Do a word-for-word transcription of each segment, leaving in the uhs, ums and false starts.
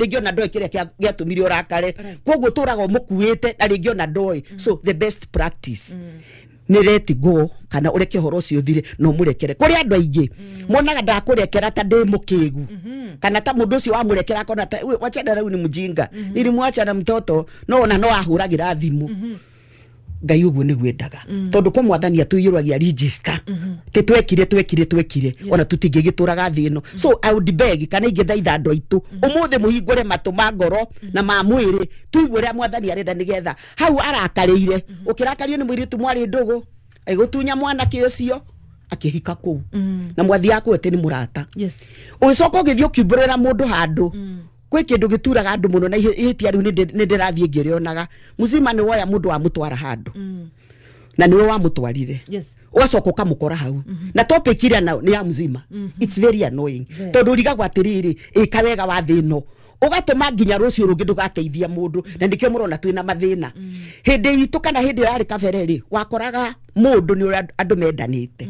Rĩngĩ ona ndoĩ kĩrĩa kĩa- gĩatũmire ũrakare, koguo tũraga ũmũkuĩte na rĩngĩ ona ndoĩ. So the best practice nĩ let go, kana ũreke ũhoro ũcio ũthire na ũmũrekere. Kũrĩ andũ aingĩ monaga ndakũrekera ta ndĩ mũkĩgu, kana ta mũndũ ũcio wamũrekera akona ta "We, wachana rĩu, ni mjinga, nilimwacha na mtoto." No ona no ahũragĩra thimũ. Ngai ũguo nĩguo endaga, tondũ kwa Mwathani atũiyũragia register tĩ twekire twekire twekire, ona tũtingĩgĩtũraga thĩ ĩno. So I would beg, kana ingĩthaitha andũ aitũ ũmũthĩ, mũhingũre matũ ma ngoro na ma mwĩrĩ, tũigue ũrĩa Mwathani arenda, nĩgetha hau arakarĩire ũkĩrakario nĩ mũirĩtu mwarĩ ndũgũ, agĩgũtunya mwanake ũcio, akĩhika kũu na mwathiaga kũu atĩ nĩ mũrata. Yes ũgĩcoka ũgĩthiĩ ũkiumbũrĩra mũndũ handũ kwĩ kĩndũ gĩturaga andũ mũno, na ihĩ- ihĩtia rĩu nĩ ndĩrathiĩ ngĩrĩonaga mzima. Nĩ woya mũndũ wamũtwara handũ na nĩwe wamũtwarire, Yes. ũgacoka ũkamũkora hau na topic ĩrĩa nayo nĩ ya mzima. It's very annoying, tondũ ũrigagwo atĩrĩrĩ, ĩka wega wa thĩ ĩno, ũgatũma nginya rũciũ rũngĩ ndũgateithia mũndũ. Na nĩkĩo mũrona twĩna mathĩna. Hĩndĩ itũ kana hĩndĩ ĩyo yarĩ kabere rĩ, wakoraga mũndũ nĩ ũrĩa andũ mendanĩte,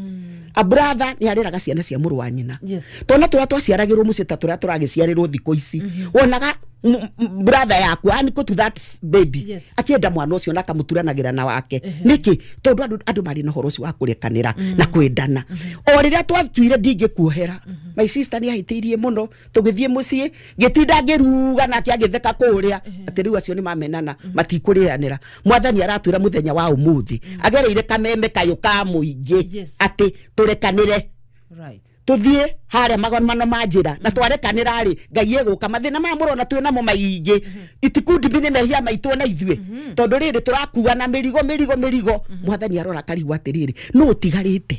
a brother nĩ areraga ciana cia mũrũ wa nyina. Yes. Twana tũrĩa twaciaragĩrwo mũciĩ ta tũrĩa tũragĩciarĩrwo thikũ ici, wonaga m- m- brother yaku aniko to that baby, Yes. akĩenda mwana ũcio na akamũturanagĩra na wake. Nĩkĩ? Tondũ andũ andũ marĩ na ũhoro ũcio wa kũrekanĩra na kwendana. O rĩrĩa twatuire ndingĩkuohera, my sister nĩ ahĩtĩirie mũno, tũgĩthiĩ mũciĩ, ngĩtinda ngĩruga nake agĩtheka kũrĩa atĩ rĩu acio nĩ mamenana, matikũrĩanĩra. Mwathani aratwĩra mũthenya wa ũmũthĩ agereire kameme kayũ ka mũingĩ Yes. atĩ tũrekanĩre, right tuthiĩ harĩa magomano ma njĩra, na twarekanĩra rĩ, Ngai egũka. Mathĩna maya mũrona twĩ namo maingĩ itikundimi nĩ mehia maitũ na ithuĩ, tondũ rĩrĩ tũrakua na mĩrigo mĩrigo mĩrigo. Mwathani arora akarigwo atĩrĩrĩ, nũ ũtigarĩte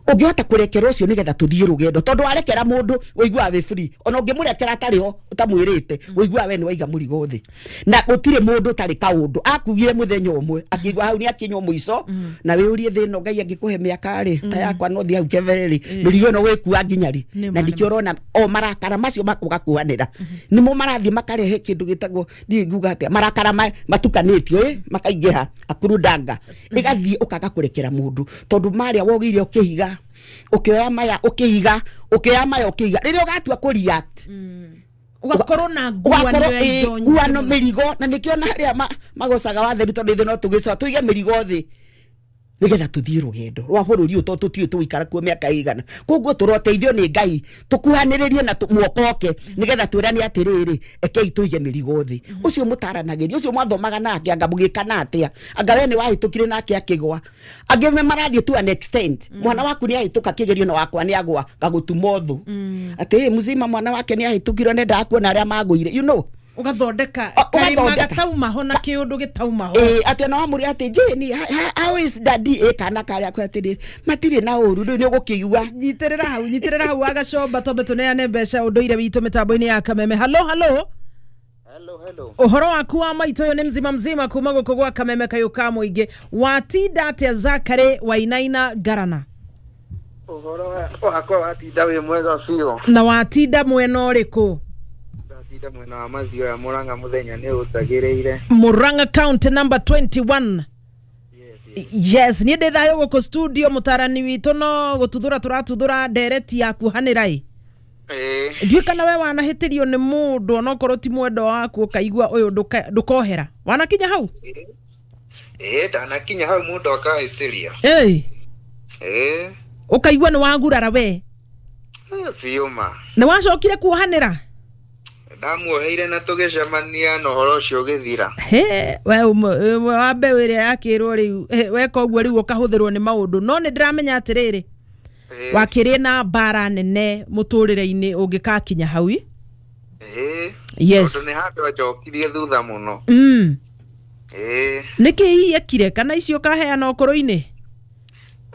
ũngĩhota kũrekera ũcio nĩgetha tũthiĩ rũgendo? Tondũ warekera mũndũ ũiguaga wĩ free, ona ũngĩmũrekera atarĩ ho ũtamwĩrĩte, ũiguaga we nĩ waiga mũrigo thĩ. Na gũtirĩ mũndũ ũtarĩ kaũndũ akugire mũthenya ũmwe akĩigua hau nĩ akinywo mũico. Na wĩũrie thĩ ĩno, Ngai angĩkũhe mĩaka rĩ ta yakwa, no thiĩ hau kebere rĩ, mĩrigo ĩno wĩkua nginya rĩ? Nĩ Na ma, nĩ nĩkĩo ũrona o marakara macio makũgakuanĩra nĩmo marathiĩ makarehe kĩndũ gĩtagwo, ndiĩ nguga atĩa, marakara ma- matukanĩtio ĩ makaingĩha akurudanga, ĩgathiĩ ũkaga kũrekera mũndũ, tondũ marĩa wogĩire ũkĩhiga, ũkĩoya maya ũkĩhiga, ũkĩoya maya ũkĩhiga, rĩrĩa ũgatua kũ react ugakorwo na nguano ũgakorwo ya ĩ, indo nyingĩ nguano mũno. Mĩrigo, na nĩkĩo na arĩa ma- magocaga watheru, tondũ ithuĩ no tũgĩcoa tũige mĩrigo thĩ nĩgetha tũthiĩ rũgendo rwa bũrũri ũyũ, tondũ tũtiũĩ tũgũikara kuo mĩaka ĩigana. Koguo tũroteithio nĩ Ngai tũkuhanĩrĩrie na tũ- muokoke nĩgetha twĩrane atĩrĩrĩ, ekei tũige mĩrigo thĩ. Ũcio mũtaranagĩria, ũcio mwathomaga nake, anga mũgĩkana atĩa, anga we nĩ wahĩtũkire nake akĩgwa. Angĩ me marathiĩ to an extent, mwana waku nĩ ahĩtũka kĩgerio na wakwa nĩ agwa, ngagũtuma ũthũ atĩ "Ĩ, mzima mwana wake nĩ ahĩtũkirwo, nendaga kuona arĩa magũire you know Ugathondeka O- karima ũgathondeka. gataumaho na kiundu gitaumaho. Ĩ, atĩ ona wamũria atĩ "Jane, how is daddy?" Ĩ, kana karĩa kwe atĩrĩ, matirĩ na ũru. Rĩu nĩ ũgũkĩigua. Nyitĩrĩra hau, nyitĩrĩra hau wagacomba, twambe tũneane mbeca ũndũire witũ mĩtambo-inĩ ya Kameme. Halo, halo. Hello, hello. Ũhoro waku wa maitũ? Ũyũ nĩ mzima mzima kuma gũkũ gwa Kameme kayũ ka mũingĩ. Watinda atĩa, Zakary Wainaina Ngarana? Ũhoro wa- wakwa watinda wĩ mwega biũ. Na watinda mwena ũrĩkũ? Ndatinda mwena wa Mathioya, Mũrang'a, mũthenya nĩ ũtagĩrĩire. Murang'a county number twenty-one. Yes, yes. Yes, niĩ ndĩ thayũ gũkũ studio. Mũtarani witũ no gũtuthũra tũratuthũra ndereti ya kuohanĩra ĩ. Ĩĩ. Ndiũĩ kana we wanahĩtĩrio nĩ mũndũ, onokorwo ti mwendwa waku, ũkaigua ũyũ ndũka- ndũkohera. Wanakinya hau? Ĩĩ, ndanakinya hau mũndũ akahĩtĩria. Ĩĩ. Ĩĩ. Ũkaigua nĩ wagurara we? Eh, biũ ma. Nĩ wacokire kuohanĩra? Ndamuoheire na tũgĩcemania na ũhoro ũcio ũgĩthira. He we ũmwe ũmwe wa mbeũ ĩrĩa yakĩrwo rĩu, eh, weka ũguo rĩu ũkahũthĩrwo nĩ maũndũ. No nĩ ndĩramenya atĩrĩrĩ, Ĩĩ. wakĩrĩ na mbara nene mũtũrĩre-inĩ ũngĩkakinya hau ĩ. Ĩĩ. Yes. Tondũ nĩ handũ anjokirie thutha mũno. mm. Ĩĩ. Nĩkĩ hihi ekire kana icio ũkaheana ũkũrũ-inĩ?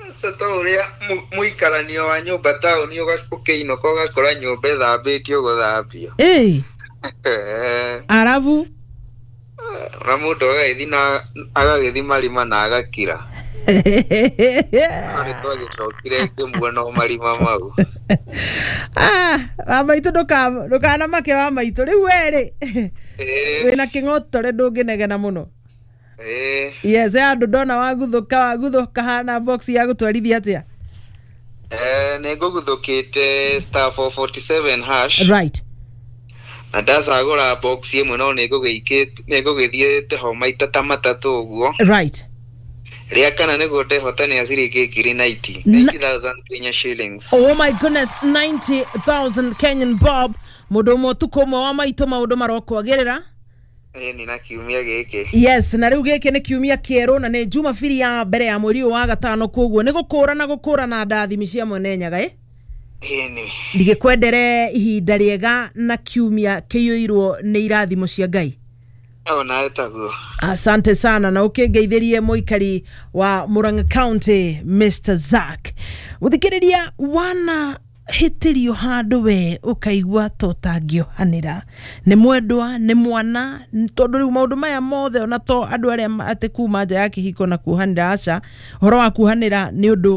Aca, ta ũrĩa mu- mũikaranio wa nyũmba taũni, ũga- ũkĩinũka ũgakora nyũmba ĩthambĩtio gũthambio. Ĩĩ. Eh. Arabu Na mũndũ agagĩthiĩ na agagĩthiĩ marima na agakira. No nĩ twagĩcokire ngĩmuona o marima mau. Ah, wa maitũ, ndũka- ndũkanamake wa maitũ. Rĩu werĩ Ĩĩ, wĩna kĩng'otore, ndũngĩnegena mũno. Ĩĩ. Yes, andũ ndona waguthũka waguthũka hana box ya gũtwarithia atĩa? Eh, nĩ ngũguthũkĩte star four forty-seven hash. Right. Na ndacagũra box ĩmwe no nĩ ngũgĩthiĩte ho maita ta matatũ ũguo. Right. Rĩa kana nĩguo ndehotanĩa ciringi ngiri ninety. ninety thousand Kenya shillings. Oh my goodness, ninety thousand Kenyan bob. Mũndũ ũmwe ũtukũ ũmwe wa maitũ maũndũ marokwagĩrĩra. Ĩĩ nĩ na kiumia gĩkĩ. Yes, na rĩu gĩkĩ nĩ kiumia kĩerũ na nĩ Jumabiri ya mbere ya mweri ũyũ wa gatano, koguo nĩ gũkũra na gũkũra na ndathimi cia mwene Nyaga ĩ. Ĩĩ nĩ. Ndigĩkwendere ihinda rĩega na kiumia kĩiyũirwo nĩ irathimo cia Ngai. Ona taguo. Asante sana na ũkĩngeithĩrie mũikari wa Murang'a County Mister Zack. Mũthikĩrĩria wana hĩtĩrio handũ we ũkaigua ta ũtangĩohanĩra, nĩ mwendwa nĩ mwana, tondũ rĩu maũndũ maya mothe ona to andũ arĩa atĩ kuma nja ya kĩhiko na kuohanĩra, aca, ũhoro wa kuohanĩra nĩ ũndũ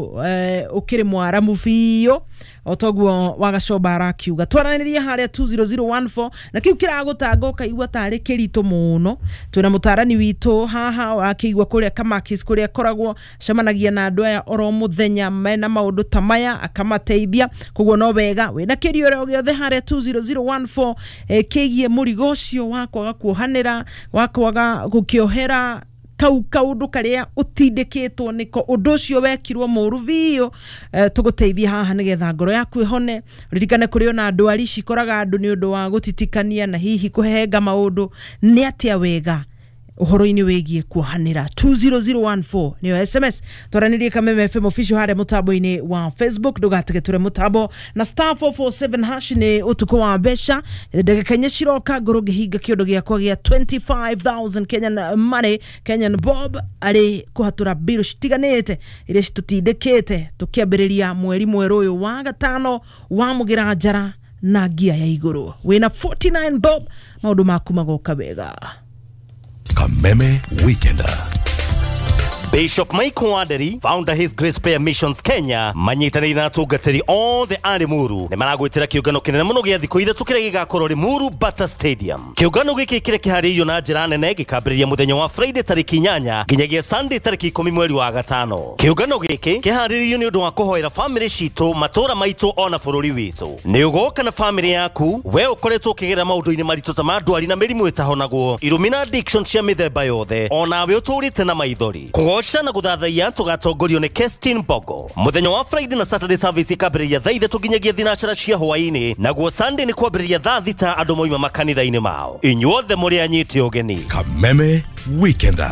ũkĩrĩ mwaramu biũ o toguo Wagacoba arakiuga. Twaranĩrie harĩa two zero zero one four na kĩu kĩragũtanga ũkaigua tarĩ kĩritũ mũno. Twĩna mũtarani witũ haha wakĩigua kũrĩa Kamakis kũrĩa akoragwo acemanagia na andũ aya oro mũthenya mena maũndũ ta maya akamateithia, koguo no wega wĩna kĩrio o gĩothe harĩa two zero zero one four kĩgiĩ mũrigo ũcio wa kwaga kuohanĩra, wa kwaga gũkĩohera kau kaundu karia utindikitwo niko undu ucio wekirwo muru biũ. Tuguteithia haha nigetha ngoro yaku ihone. Ririkane kuri ona ndwari cikoraga andu ni undu wa gutitikania na hihi kuhehenga maundu ni atia wega uhoro-inĩ wĩgiĩ kuohanĩra. Two zero zero one four nĩyo S M S. Twaranĩrie Kameme F M official harĩa mũtambo-inĩ wa Facebook, ndũgatige tũre mũtambo na star four four seven hash nĩ ũtukũ wa mbeca. Ndagĩka inya ciroka ngorwo ngĩhinga kĩondo gĩakwa gĩa twenty five thousand Kenyan money, Kenyan bob, arĩ kũhatũra mbirũ citiganĩte iria citũtindĩkĩte tũkĩambĩrĩria mweri mwerũ ũyũ wa gatano wa mũgĩra njara na ngia ya igũrũ. Wĩna forty nine bob, maũndũ maku magoka wega. Kameme Weekender. Bishop Michael Wanderi, founder His Grace Prayer Missions Kenya, manyitanĩire na atungatĩri othe a Limuru nĩ maragwĩtĩra kĩũngano kĩnene mũno gĩa thikũ ithatũ kĩrĩa gĩgakorwo Limuru Bata Stadium. Kĩũngano gĩkĩ kĩrĩa kĩharĩirio na njĩra nene gĩkambĩrĩria mũthenya wa Friday tarĩki inyanya nginyagia Sunday tarĩki ikũmi mweri wa gatano. Kĩũngano gĩkĩ kĩharĩirio nĩ ũndũ wa kũhoera famĩlĩ citũ, matũũra maitũ ona bũrũri witũ. Nĩ ũgoka na famĩlĩ yaku, we ũkoretwo ũkĩgerera maũndũ-inĩ maritũ ta ma ndwari na mĩrimũ ĩtahonagwo, irumi na addiction cia mĩthemba yothe, onawe ũtũrĩte na maithori. Kũgoca na gũthathaiya tũgatongorio nĩ Kestin Bogo. Mũthenya wa Friday na Saturday service ikambĩrĩria thaa ithatũ nginyagia thinacara cia hwaĩ-inĩ, naguo Sunday nĩ kwambĩrĩria thaa thita andũ moima makanitha-inĩ mao. Inyuothe mũrĩ anyite ũgeni. Kameme Weekender.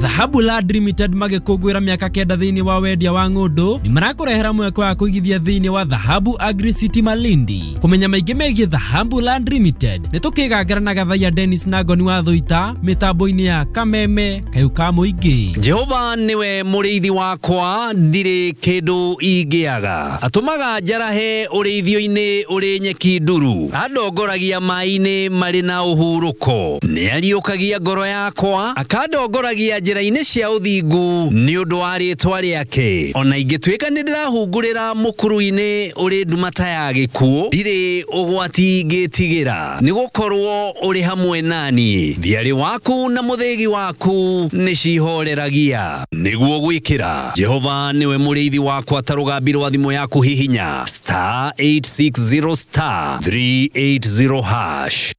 Dhahabu Land Limited magĩkũngũĩra mĩaka kenda thĩinĩ wa wendia wa ng'ũndũ nĩ marakũrehera mweke wa kũigithia thĩinĩ wa Dhahabu Agri City Malindi. Kũmenya maingĩ megiĩ Dhahabu Land Limited nĩ tũkĩgangara na Gathaiya Dennis na Ngoni wa Thũita mĩtambo-inĩ ya Kameme Kayũ ka Mũingĩ. Jehova nĩwe mũrĩithi wakwa, ndirĩ kĩndũ ingĩaga. Atũmaga njarahe ũrĩithio-inĩ ũrĩ nyeki nduru, andongoragia maĩ-inĩ marĩ na ũhurũko. Nĩariũkagia ngoro yakwa, akandongoragia njĩra-inĩ cia ũthingu nĩ ũndũ wa rĩtwa rĩake. Ona ingĩtuĩka nĩ ndĩrahungurĩra mũkuru-inĩ ũrĩ nduma ta ya gĩkuũ, ndirĩ ũgwati ngĩtigĩra, nĩgũkorwo ũrĩ hamwe nani. Thiarĩ waku na mũthĩgi waku nĩcihoreragia. Nĩguo gwĩkĩra Jehova nĩwe mũrĩithi wakwa ta rũgambi rwa thimũ yaku hihinya star eight six zero star three eight zero hash.